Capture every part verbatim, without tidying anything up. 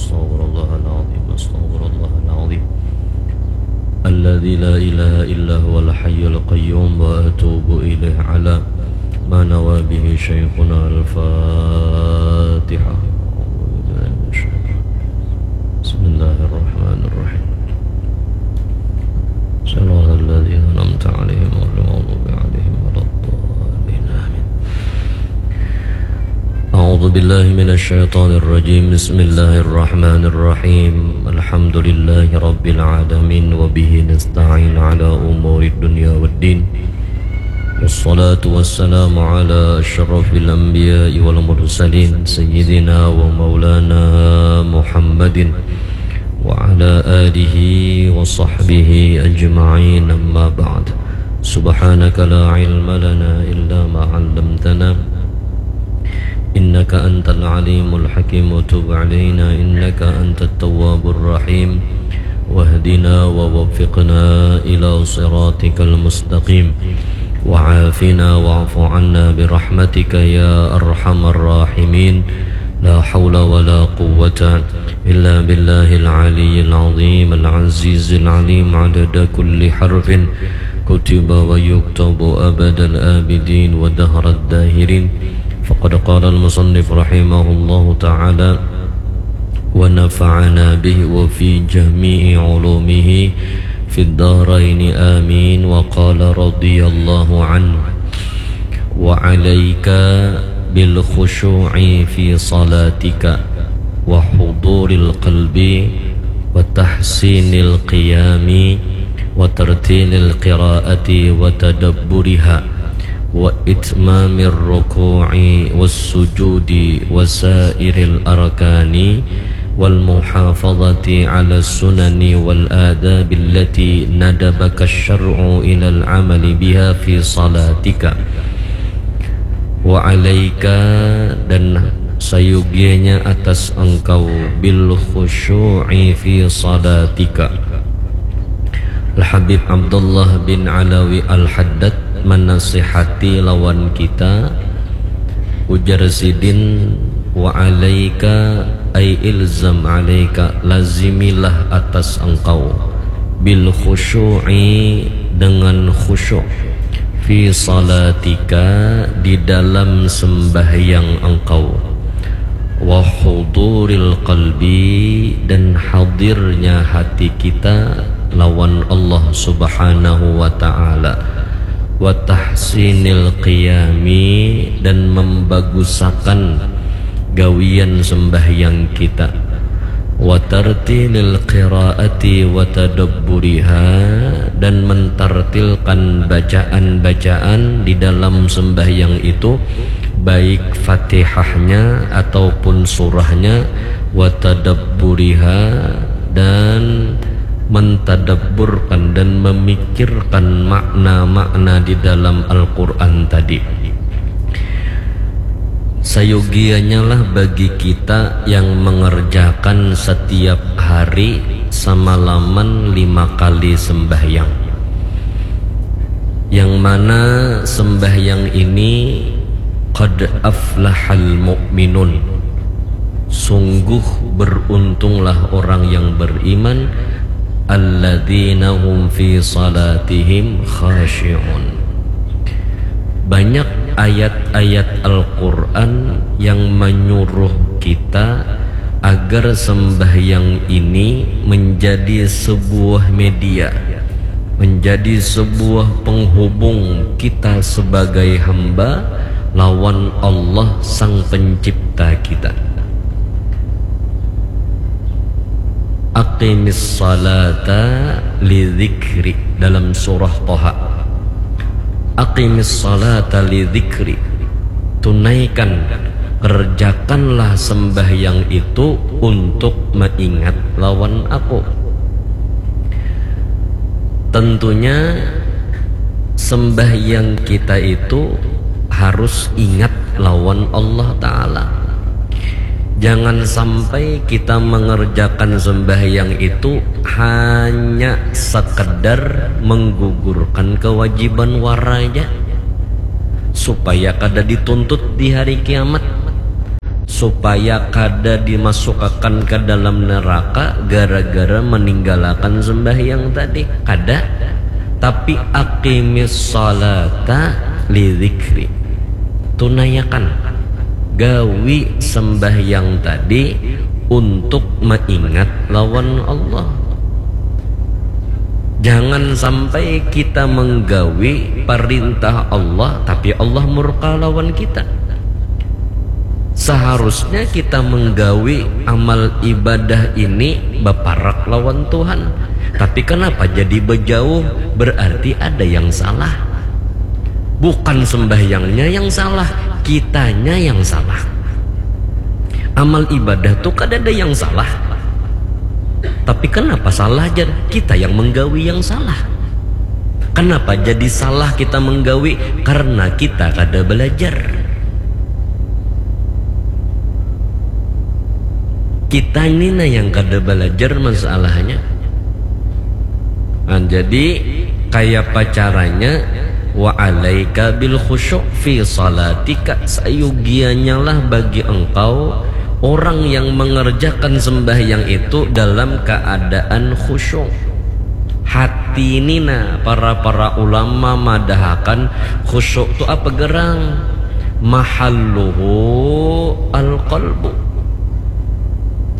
أستغفر الله العظيم، أستغفر الله العظيم الذي لا إله إلا هو الحي القيوم وأتوب إليه على ما نوى به شيخنا. الفاتحة. بسم الله الرحمن الرحيم. صراط الذين أنعمت عليهم غير المغضوب عليهم ولا الضالين. آمين. أعوذ بالله من الشيطان الرجيم. بسم الله الرحمن الرحيم. الحمد لله رب العالمين، وبه نستعين على أمور الدنيا والدين. والصلاة والسلام على أشرف الأنبياء والمرسلين، سيدنا ومولانا محمد وعلى آله وصحبه أجمعين. أما بعد. سبحانك لا علم لنا إلا ما علمتنا، إنك أنت العليم الحكيم. وتب علينا إنك أنت التواب الرحيم. واهدنا ووفقنا إلى صراطك المستقيم. وعافنا واعف عنا برحمتك يا أرحم الراحمين. لا حول ولا قوة إلا بالله العلي العظيم العزيز العليم. عدد كل حرف كتب ويكتب أبد الآبدين ودهر الداهرين. فقد قال المصنف رحمه الله تعالى: ونفعنا به وفي جميع علومه في الدارين آمين. وقال رضي الله عنه: وعليك بالخشوع في صلاتك وحضور القلب وتحسين القيام وترتيل القراءة وتدبرها وإتمام الركوع والسجود وسائر الأركان والمحافظة على السنن والآداب التي ندبك الشرع إلى العمل بها في صلاتك. وعليك, dan sayugianya atas engkau, بالخشوع في صلاتك. Al-Habib Abdullah bin Alawi Al-Haddad manasihati lawan kita, ujar sidin, وعليك أي الزم عليك, lazimilah atas engkau, بالخشوع, dengan khusyuk, في صلاتك, di dalam sembahyang engkau, وحضور القلب, dan hadirnya hati kita lawan Allah Subhanahu wa Ta'ala, وتحسين القيام, dan membagusakan gawian sembahyang kita, وترتيل القراءة وتدبرها, dan mentartilkan bacaan-bacaan di dalam sembahyang itu, baik Fatihahnya ataupun surahnya, وتدبرها, dan mentadabburkan dan memikirkan makna-makna di dalam Al-Quran tadi. Sayugianyalah bagi kita yang mengerjakan setiap hari samalaman lima kali sembahyang, yang mana sembahyang ini قد أفلح المؤمنون, sungguh beruntunglah orang yang beriman, الذين هم في صلاتهم خاشعون. Banyak ayat-ayat Al-Quran yang menyuruh kita agar sembahyang ini menjadi sebuah media, menjadi sebuah penghubung kita sebagai hamba lawan Allah Sang Pencipta kita. أقم الصلاة لذكري, dalam surah Toha. أقم الصلاة لذكري, tunaikan, kerjakanlah sembahyang itu untuk mengingat lawan Aku. Tentunya sembahyang kita itu harus ingat lawan Allah Ta'ala. Jangan sampai kita mengerjakan sembahyang itu hanya sekedar menggugurkan kewajiban wara ja, supaya kada dituntut di hari kiamat, supaya kada dimasukakan ke dalam neraka gara-gara meninggalakan sembahyang tadi. Kada. Tapi aqimis salata li dzikri. Tunaiakan. Gawi sembahyang tadi untuk meingat lawan Allah. Jangan sampai kita menggawi perintah Allah tapi Allah murka lawan kita. Seharusnya kita menggawi amal ibadah ini baparak lawan Tuhan. Tapi kenapa jadi bejauh? Berarti ada yang salah. Bukan sembahyangnya yang salah, kitanya yang salah. Amal ibadah tuh kada ada yang salah. Tapi kenapa salah jar? Kita yang menggawi yang salah. Kenapa jadi salah kita menggawi? Karena kita kada belajar. Kita ini nah yang kada belajar masalahnya. Nah, jadi kaya apa caranya? Wa alaika bil khusyuk fi salatika, sayugiannya lah bagi engkau orang yang mengerjakan sembahyang itu dalam keadaan khusyuk. Hati ini nah, para para ulama madahakan khusyuk tu apa gerang? Mahalluhu al qalbu.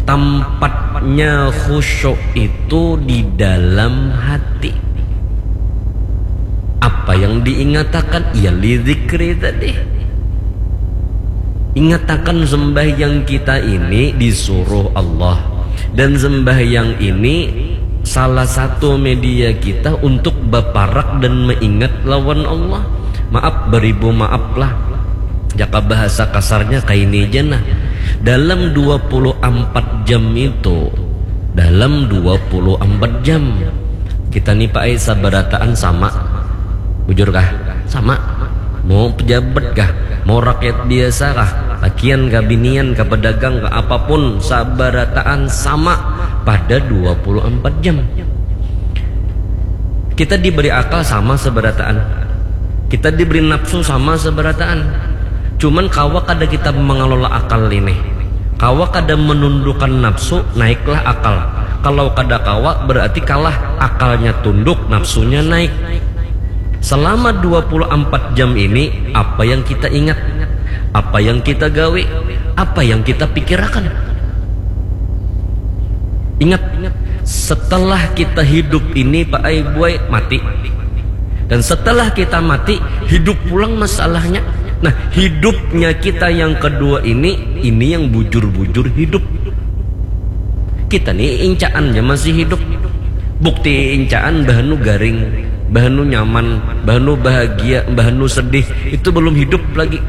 Tempatnya khusyuk itu di dalam hati. Apa yang diingatakan? Ya li dzikri tadi. Ingatakan sembahyang kita ini disuruh Allah. Dan sembahyang ini salah satu media kita untuk baparak dan meingat lawan Allah. Maaf, beribu maaf lah. Jaka bahasa kasarnya kaini ja nah. Dalam dua puluh ampat jam itu, dalam dua puluh ampat jam, kita ni paai sabarataan sama. Bujur kah? Sama. Mau pejabat kah? Mau rakyat biasa kah? Lakian kah, binian kah, pedagang kah, apapun, sabarataan sama pada dua puluh ampat jam. Kita diberi akal sama sabarataan. Kita diberi nafsu sama sabarataan. Cuman kawa kada kita mengelola akal ini. Kawa kada menundukkan nafsu, naiklah akal. Kalau kada kawa, berarti kalah. Akalnya tunduk, nafsunya naik. Selama dua puluh ampat jam ini, apa yang kita ingat? Apa yang kita gawe? Apa yang kita pikirakan? Ingat, setelah kita hidup ini, paai buai, mati. Dan setelah kita mati, hidup pulang masalahnya. Nah, hidupnya kita yang kedua ini, ini yang bujur-bujur hidup. Kita ni incaan ja masih hidup. Bukti incaan bahanu garing, bahanu nyaman, bahanu bahagia, bahanu sedih, itu belum hidup lagi.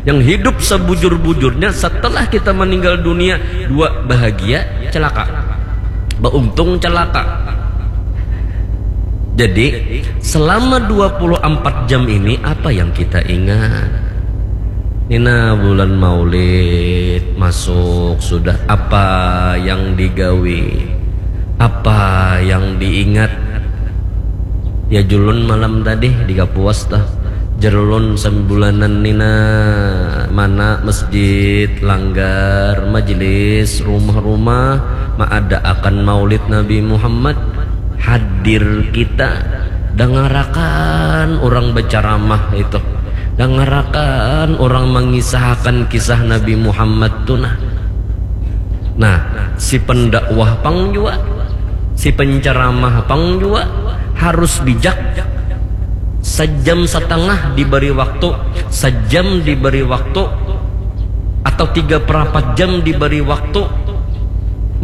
Yang hidup sebujur-bujurnya setelah kita meninggal dunia, dua, bahagia, celaka. Bauntung, celaka. Jadi, selama dua puluh ampat jam ini, apa yang kita ingat? Nina, bulan Maulid masuk sudah, apa yang digawi? Apa yang diingat? Ya, julun malam tadi di Kapuas tah. Jer ulun sambulanan nina, mana masjid, langgar, majelis, rumah-rumah maadaakan Maulid Nabi Muhammad. Hadir kita, dangarakan urang bacaramah itu, dangarakan urang mangisahakan kisah Nabi Muhammad tu nah. Nah, si pendakwah pang jua, si penceramah pang jua harus bijak. Sejam setengah diberi waktu, sejam diberi waktu, atau tiga perapat jam diberi waktu,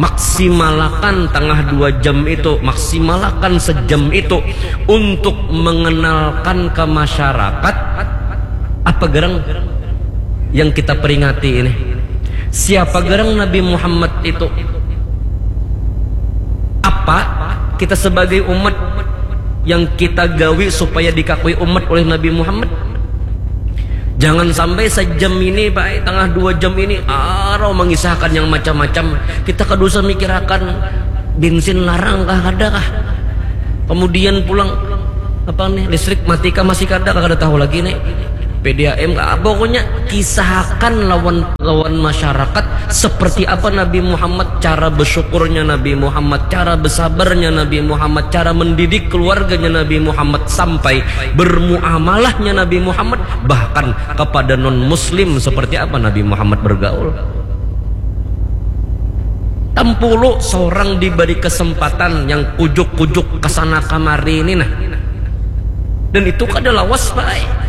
maksimalakan tengah dua jam itu, maksimalakan sejam itu untuk mengenalkan ke masyarakat apa gerang yang kita peringati ini. Siapa gerang Nabi Muhammad itu? Apa kita sebagai umat yang kita gawi supaya dikakui umat oleh Nabi Muhammad? Jangan sampai sejam ini, baik tengah dua jam ini, arau mengisahkan yang macam-macam. Kita kada usah mikirakan bensin larang kah, kada kah. Kemudian pulang, apa nih, listrik mati kah, masih kada kah, kada tahu lagi nih. P D A M, ah, pokoknya kisahkan lawan lawan masyarakat seperti apa Nabi Muhammad, cara bersyukurnya Nabi Muhammad, cara bersabarnya Nabi Muhammad, cara mendidik keluarganya Nabi Muhammad, sampai bermuamalahnya Nabi Muhammad, bahkan kepada non muslim seperti apa Nabi Muhammad bergaul. Tampulu seorang diberi kesempatan yang kujuk-kujuk kesana kamari ini nah. Dan itu kada lawas, Pak.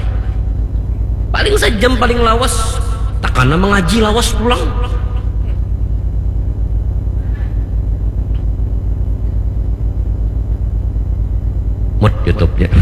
Paling sejam paling lawas. Takana mengaji lawas pulang. Mut YouTube-nya.